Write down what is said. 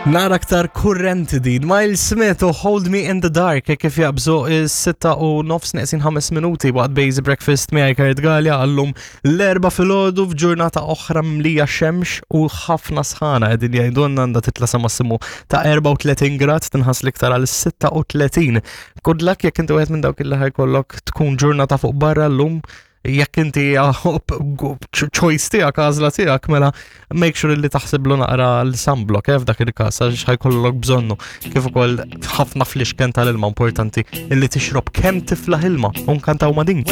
Nara aktar kurrenti din. Miles Smith u Hold Me in the Dark e kif jaqbżu is-6 u nofs neqsin 5 minuti waqt Base Breakfast miegħi Kurt Galea għallum l-erba' filgħodu f'ġurnata oħra mlija xemx u ħafna sħana qegħdin jgħidulna għandha titla' sa massimu ta' 34 grad tinħass l-iktar għal 36. Good luck jekk inti wieħed minn dawk illi ħajkollok tkun ġurnata fuq barra llum jekk inti choice tiegħek għażla tiegħek mela make sure li taħsiblu naqra l-sunblock eh, f'dak il-każ għax ħajkollok bżonnu kif ukoll ħafna flixken tal-ilma importanti illi tixrob kemm tiflaħ ilma u nkantaw ma' din.